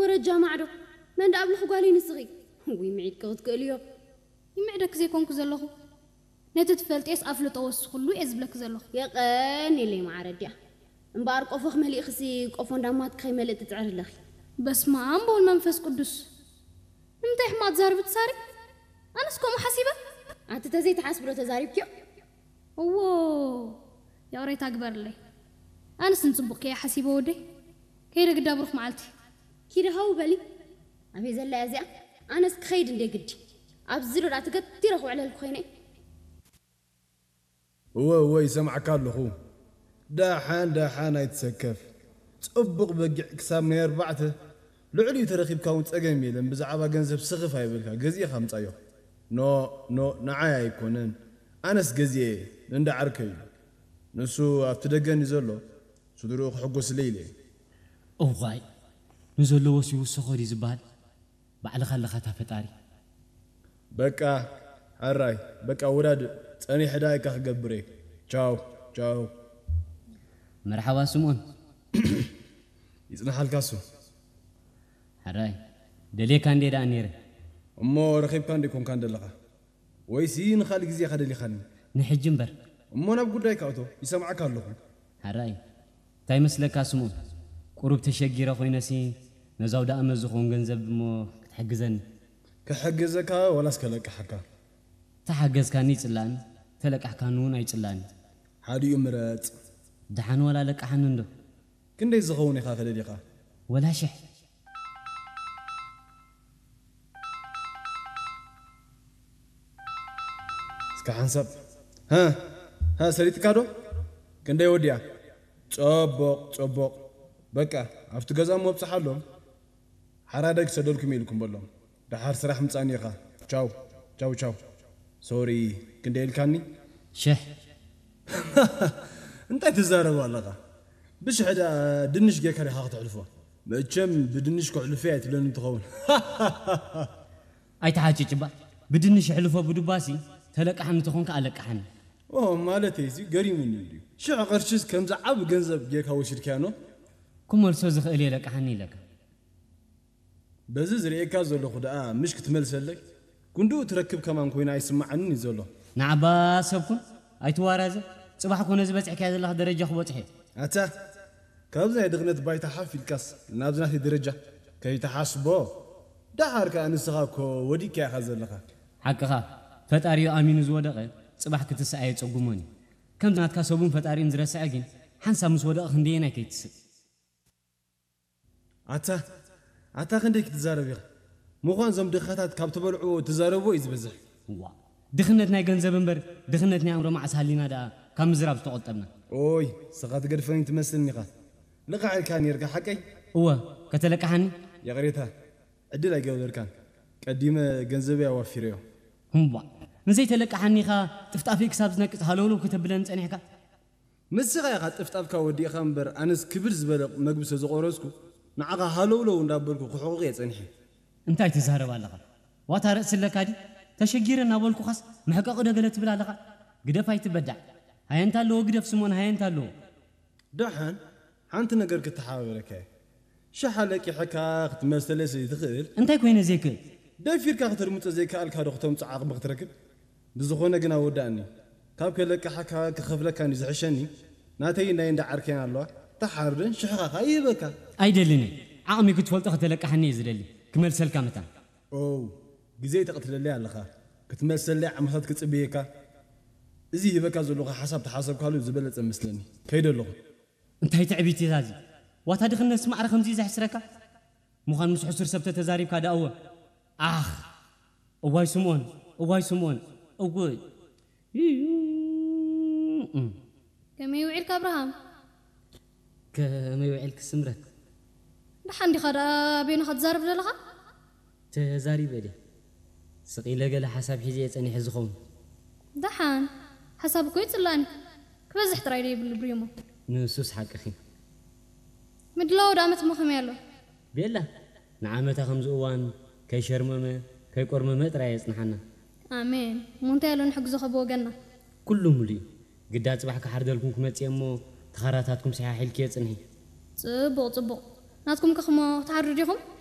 ወረጃ ማዕዶ። መን ደኣ ኣብልኺ ጓለይ ንስኺ? ውይ፣ ምዒድኪ ክትክእልዮ። ይምዕደኪ ዘይኮንኩ ዘለኹ። ነቲ ትፈልጥየስ ኣፍልጦ ወስኹሉ እየ ዝብለኪ ዘለኹ። የቐንየለይ መዓረ ኣዲኣ። እምበኣር ቆፎኺ መሊእኽሲ ቆፎ እንዳማትኪ ከይመልእ ትጽዕሪ ኣለኺ። በስመ ኣብ ወወልድ መንፈስ ቅዱስ። ንምንታይ ሕማቕ ትዛረቢ ትሳሪ? ኣነስ ከምኡ ሓሲበ? ኣቲ ተዘይትሓስቢ ዶ ተዛሪብክዮ? እዎ፣ ይቕሬታ ግበርለይ። ኣነስ ንጽቡቕ ከየ ሓሲበ ወደይ። ከይደ ግዳ ብሩኽ መዓልቲ። ኪዲ ሃው በሊ። ኣበይ ዘላ እያ እዚኣ? ኣነስ ክኸይድ እንደ ግዲ። ኣብዚ ዶ ደኣ ተገቲረ ክውዕለልኩ ኮይነ? እወ፣ እወ፣ ይሰምዓካ ኣለኹ። ደሓን፣ ደሓን ኣይትሰከፍ። ጽቡቕ በጊዕ ክሳብ ናይ ኣርባዕተ፣ ልዕሊኡ ተረኺብካ እውን ጸገም የለን። ብዛዕባ ገንዘብ ስኽፍ ኣይበልካ፣ ገዚእኻ ምጻዮ። ኖ፣ ኖ፣ ንዓይ ኣይኮነን። ኣነስ ገዚኤ፣ ንእንዳ ዓርከይ እዩ። ንሱ ኣብቲ ደገን እዩ ዘሎ፣ ስድርኡ ክሕጎስለይ ኢለ እየ። እዋይ፣ ንዘለዎስ ይውሰኾ ድዩ ዝበሃል? ባዕልኻ ኣለኻ እታ ፈጣሪ። በቃ፣ ሕራይ፣ በቃ ውዳድ፣ ጸኒሐ ደኣ ኢካ ክገብር እየ። ቻው፣ ቻው። መርሓባ ስምኦን። ይጽናሓልካ እሱ። ሕራይ፣ ደልየካ እንዴ ደኣ ነይረ። እሞ ረኺብካ እንዴ ኮንካ እንደለኻ? ወይሲ ንኻልእ ግዜ ኢኻ ደሊኻኒ? ንሕጂ እምበር። እሞ ናብ ጉዳይካ እቶ፣ ይሰምዓካ ኣለኹ። ሕራይ፣ እንታይ መስለካ ስምኦን? ቁሩብ ተሸጊረ ኮይነሲ ነዛው ደኣ መዝኾን ገንዘብ እሞ ክትሕግዘኒ። ክሕግዘካ ዋላስ ከለቅሓካ? ተሓገዝካኒ ይጽላእኒ፣ ተለቃሕካኒ እውን ኣይጽላእኒ። ሓዲኡ ምረጽ። ደሓን ዋላ ለቅሓኒ እንዶ። ክንደይ ዝኸውን ኢኻ ከደሊኻ? ወላ ሽሕ። እስከ ሓንሳብ። ሃ፣ ሃ፣ ሰሊጥካ ዶ? ክንደይ ወዲያ? ጸቦቕ፣ ጸቦቕ። በቃ፣ ኣብቲ ገዛ እሞ ኣብጽሓሎም። ሓራደ ክሰደልኩም ኢልኩም በሎም። ደሓር ስራሕ ምጻኒ ኢኻ። ቻው፣ ቻው፣ ቻው። ሶሪ፣ ክንደይ ኢልካኒ? ሽሕ። እንታይ ትዛረብ ኣለኻ? ብሽሕ ደኣ ድንሽ ጌርካ ዲኻ ክትሕልፎ? መቸም ብድንሽ ክሕልፎ እያ ትብለኒ ትኸውን። ኣይትሓጭጭ እባ። ብድንሽ ሕልፎ ብዱባሲ ተለቃሓኒ ተኾንካ ኣለቃሓኒ። ኦ፣ ማለተይ እዚ ገሪሙኒ እንድዩ። ሽሕ ቅርሽስ ከምዚ ዓቢ ገንዘብ ጌርካ ወሲድካዮ ኖ? ክመልሶ ዝኽእል እየ ለቃሓኒ ኢለካ። በዚ ዝርእየካ ዘለኹ ደኣ ምሽ ክትመልሰለይ? ክንድኡ ትረክብ ከማን ኮይና ኣይስምዓንን እዩ ዘሎ። ንዓባ ሰብኩን ኣይትዋራዘ። ጽባሕ ኮነ ዝበጽሕካዮ ዘለኻ ደረጃ ክበጽሕ እየ። ኣታ፣ ካብዚ ናይ ድኽነት ባይታ ሓፍ ኢልካስ ናብዚ ናተይ ደረጃ ከይትሓስቦ። ደሓር ከኣ ንስኻ እኮ ወዲቅካ ኢኻ ዘለኻ። ሓቅኻ፣ ፈጣሪኡ ኣሚኑ ዝወደቐ ጽባሕ ክትስኣ የጸጉሞን እዩ። ከምዚ ናትካ ሰቡን ፈጣሪኡን ዝረስዐ ግን ሓንሳብ ምስ ወደቐ ክንደየናይ ከይትስእ። ኣታ፣ ኣታ ክንደይ ክትዛረብ ኢኻ? ምዃን እዞም ድኻታት ካብ ትበልዕዎ ትዛረብዎ እዩ ዝበዝሕ። እዋ፣ ድኽነት ናይ ገንዘብ እምበር ድኽነት ናይ ኣእምሮ መዓስ ሃሊና ደኣ ካብ ምዝራብ ዝተቖጠብና። ኦይ፣ ስኻ ትገድፈኒ ትመስልኒ ኢኻ። ልቓሕ ኢልካ ኔርካ ሓቀይ? እወ፣ ከተለቅሓኒ? ይቕሬታ፣ ዕድል ኣይገበርካን። ቀዲመ ገንዘበይ ኣዋፊረዮ። እምቧ፣ ንዘይተለቅሓኒ ኢኻ ጥፍጣፈይ ክሳብ ዝነቅጽ ሃለውለው ከተብለኒ ጸኒሕካ? ንስኻ ኢኻ ጥፍጣፍካ ወዲእኻ እምበር፣ ኣነስ ክብድ ዝበለ መግቢ ስለ ዝቖረስኩ፣ ንዓኻ ሃለውለው እንዳበልኩ ክሕቑቕ እየ ጸኒሐ። እንታይ ትዛረብ ኣለኻ? ዋታ ርእሲ ኣለካ ድዩ? ተሸጊረ እናበልኩኻስ መሕቀቒ ዶ ገለ ትብል ኣለኻ? ግደፍ ኣይትበዳዕ። ሃየንታ ኣለዎ ግደፍ ስምኦን፣ ሃየንታ ኣለዎ። ደሓን ሓንቲ ነገር ክተሓባበረካ እየ። ሽሓ ለቂሐካ ክትመልሰለይ ስለ ዘይትኽእል እንታይ ኮይነ ዘይክእል? ደፊርካ ክትርምጾ ዘይከኣልካ ዶ ክተምጽኦ ዓቕሚ ክትረክብ? ብዝኾነ ግን ኣወዳእኒ። ካብ ከለቅሓካ ክኸፍለካ እንድዩ ዝሕሸኒ። ናተይን ናይ እንዳ ዓርከይን ኣለዋ። ተሓርደን ሽሕኻ ከኣ ይህበካ። ኣይደልን እየ። ዓቕሚ ክትፈልጦ ከተለቅሓኒ እየ ዝደሊ። ክመልሰልካ መታን። ኦው፣ ግዜ ተቕትለለይ ኣለኻ። ክትመልሰለይ ዓመታት ክጽበየካ። እዚ ይህበካ ዘለኹ ሓሳብ ተሓሰብካሉ ዝበለጸ መስለኒ። ከይደ ኣለኹ። እንታይ ትዕቢት እያ እዚ? ዋታ ድኽነትስ ማዕረ ከምዚ እዩ ዘሕስረካ? ምዃን ምስ ሕሱር ሰብ ተተዛሪብካ ደኣ እወ። ኣኽ! እዋይ ስምኦን፣ እዋይ ስምኦን፣ እውይ! ከመይ ውዒልካ ኣብርሃም? ከመይ ውዒልኪ ስምረት? ደሓን ዲኻ ደኣ በይንኻ ትዛረብ ዘለኻ? ተዛሪበ ድየ? ስቕ ኢለ ገለ ሓሳብ ሒዘ እየ ጸኒሐ ዝኸውን። ደሓን፣ ሓሳብ እኮ ይጽላእኒ። ክበዝሕ ጥራይ ዶ የብሉ ብሪሞ? ንሱስ ሓቅኺ። ምድላው ደኣ መትሞ ከመይ ኣሎ? ቤላ፣ ንዓመታ ከምዚ እዋን ከይሸርመመ፣ ከይቆርመመ ጥራይ የጽንሓና። ኣሜን። እሞ እንታይ ኣሎ ንሕግዞ ከብወገንና? ኩሉ ሙሉእ እዩ። ግዳ ጽባሕ ክሓርደልኩም ክመጽእ እየ እሞ፣ ተኻራታትኩም ሰሓሒልክዮ ጽንሒ። ጽቡቕ፣ ጽቡቕ። ናትኩም ከ እሞ ክትሓርዱ ዲኹም?